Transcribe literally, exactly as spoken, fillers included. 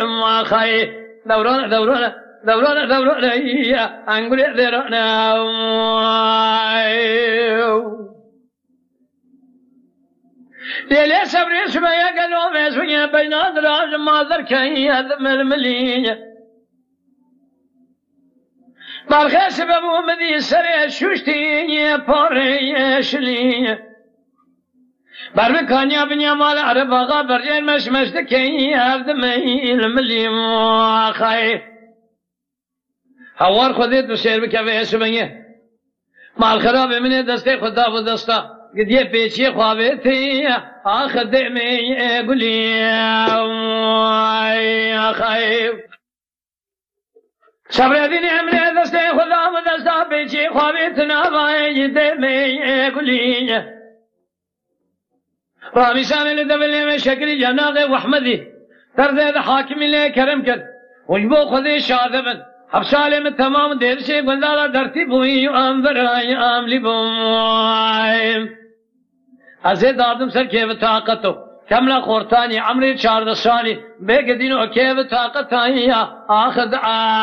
Axay, dewrane, dewrane, dewrane, dewrane, ya, engurê derane. Lêlê sebrê şime ye gelo mezûye beyna diraj ma derkeye di milmilî. Balxê sibe bû min dî serê şuştî parê şilî. Ber bi kaniya binya mala Ereb Axa berjên meş meş dikey ev di meyil milî axayê. Hewar Xwedê tu sêr bike vê êsibengê. Mal xerabê min ê destê xwe da bi desta. Gidiyê pêçiyê xwe avêtê. Ax dê meyê gulî. Ay, axayê. Sabredîn emrê destê xwe da bi desta pêçiyê xwe avêtin avayê dê meyê gulî. Ramîsanê li devilê me şekilî cenaxê Wehmedî. Terzê de hakimî lê kerem kir. Û ji bo Xwedê şade bin. Hepsalê min temam dêrişê gundala dertî bûyî û em virayî em lî bûm. Ez ê dadim ser kêvi taqeto. Kemla xortanî, emrê çardeh salî. Bê gidîn o kêvi taqetayî ya. Axir de